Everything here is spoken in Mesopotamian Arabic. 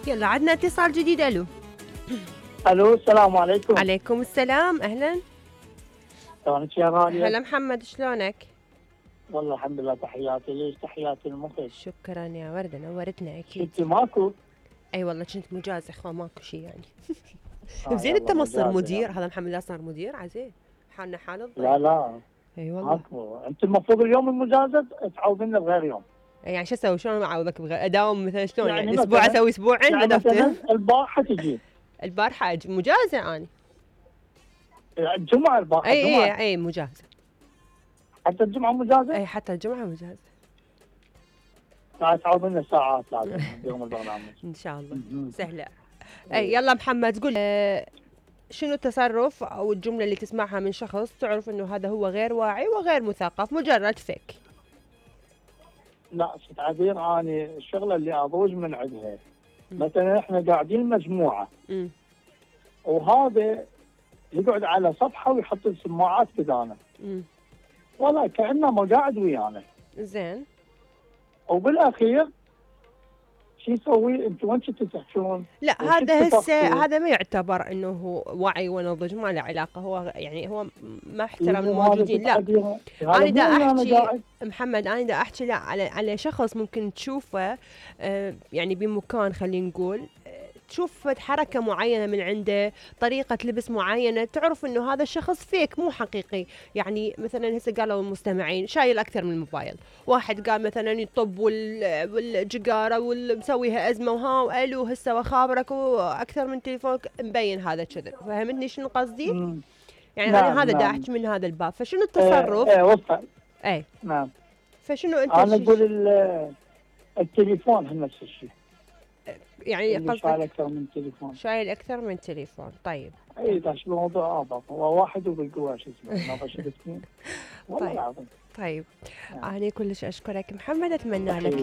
يلا عندنا اتصال جديد. الو. الو السلام عليكم. عليكم السلام، اهلا. شلونك يا غالية؟ هلا محمد، شلونك؟ والله الحمد لله، تحياتي ليش، تحياتي المخرج. شكرا يا وردة، نورتنا اكيد. كنتي ماكو؟ اي والله كنت مجازة اخوة، ماكو شيء يعني. زين يلا انت ما تصير مجازة مدير، يعني. هذا محمد لا صار مدير عزيز، حالنا حال الضيف. لا لا اي والله. ماكو، انت المفروض اليوم المجازة تعوضنا بغير يوم. يعني شو اسوي؟ شلون اعوضك اداوم مثلا شلون؟ يعني اسبوع مثلاً اسوي اسبوعين يعني بدفتر. مثلا البارحة تجي. البارحة اجي مجازة اني. الجمعة البارحة الجمعة. اي مجازة. حتى الجمعة مجازة؟ اي حتى الجمعة مجازة. تعوضنا ساعات لازم يوم البرنامج. ان شاء الله سهلة. اي يلا محمد قول شنو التصرف او الجملة اللي تسمعها من شخص تعرف انه هذا هو غير واعي وغير مثقف، مجرد فيك. لا ست عبير، اني الشغلة اللي اضوج من عندها مثلا احنا قاعدين مجموعة وهذا يقعد على صفحة ويحط السماعات قدامه والله كأنه ما قاعد ويانا. زين. وبالاخير شو يسوي؟ انتم وين كنتوا تحكون؟ لا هذا هسه هذا ما يعتبر انه هو وعي ونضج، ما له علاقه، هو يعني هو ما احترم الموجودين. لا انا دا احكي محمد، انا دا احكي لا على شخص ممكن تشوفه يعني بمكان، خلينا نقول تشوف حركة معينة من عنده، طريقة لبس معينة، تعرف انه هذا الشخص فيك مو حقيقي. يعني مثلا هسه قالوا المستمعين شايل اكثر من الموبايل، واحد قال مثلا يطب والجقارة ومسويها ازمة وها والو هسه وخابرك واكثر من تليفونك، مبين هذا كذب. فهمتني شنو قصدي؟ يعني نعم انا هذا دا احكي من هذا الباب. فشنو التصرف؟ وصل. اي نعم. فشنو انت انا اقول التليفون هم نفس الشيء، يعني قصدك شايل اكثر من تليفون. شايل اكثر من تليفون. طيب اي داش الموضوع ابط، هو واحد وبالقوه شو اسمه ما بشوف اثنين والله العظيم. طيب انا كلش اشكرك محمد، اتمنى لك